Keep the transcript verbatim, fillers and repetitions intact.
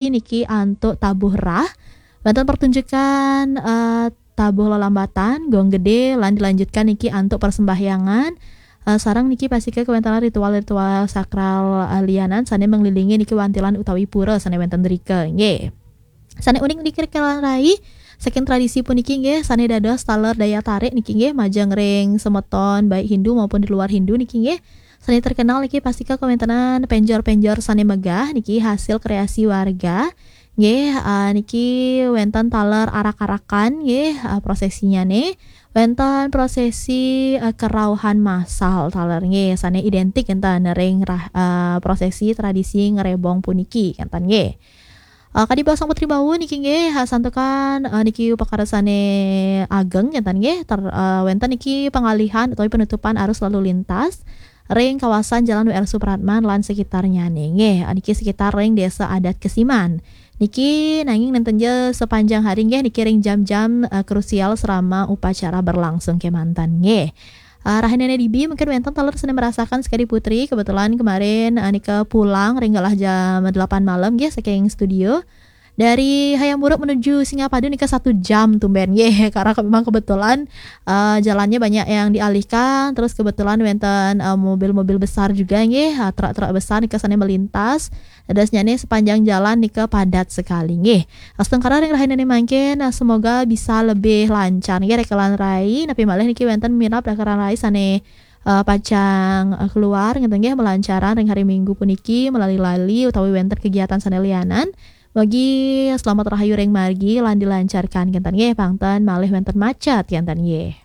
niki antuk tabuh rah. Wénten pertunjukan eh, tabuh lelambatan, gong gedé, lan dilanjutkan niki antuk persembahyangan. Eh, sareng niki pastika kawéntenan ritual-ritual sakral eh, lianan sané menglilingi niki wantilan utawi pura sané wénten drika. Nggih. Sané unik niki rekan rai, saking tradisi puniki nggih sané dados taler daya tarik niki nggih majeng ring semeton baik Hindu maupun di luar Hindu niki nggih. Sané terkenal niki pastika kawéntenan penjor-penjor sané megah niki hasil kreasi warga. Nggih, eh, niki wénten taler arak-arakan nggih eh, prosesinya nih. Wénten prosesi eh, kerauhan massal taler nggih sané identik enten ring rah- eh, prosesi tradisi ngerebong puniki enten nggih. Uh, kadi Sang Putri Bawu niki nggih ha, santukan uh, niki upakara sané ageng ngénten nggih ter, uh, wénten niki pengalihan utawi penutupan arus lalu lintas ring kawasan Jalan W R Supratman lan sekitarnya nih nggih. Uh, niki sekitar ring Desa Adat Kesiman. Niki nanging nénten ja sepanjang hari nggih niki ring jam-jam uh, krusial selama upacara berlangsung kémanten nggih. Uh, rahinané dibi mungkin wénten taler sané merasakan sekadi Putri kebetulan kemarin uh, nika pulang ring galah jam delapan malam nggih saking studio. Dari Hayam Wuruk menuju Singapadu nika satu jam tumben nggih karena ke- memang kebetulan uh, jalannya banyak yang dialihkan terus kebetulan wénten uh, mobil-mobil besar juga nggih uh, truk-truk besar nika sané melintas. Dadosnyané sepanjang jalan nika padat sekali nggih. Astungkara ring rahinané mangkin uh, semoga bisa lebih lancar nggih rekelan rai napi malih niki wénten mirab rekelan rai sané uh, pacang uh, keluar ngénten nggih melancaran ring hari Minggu puniki melali-lali utawi wénten kegiatan sané lianan. Mugi selamat rahayu ring margi lan dilancarkan ngénten nggih pangten malih wénten macet ngénten nggih.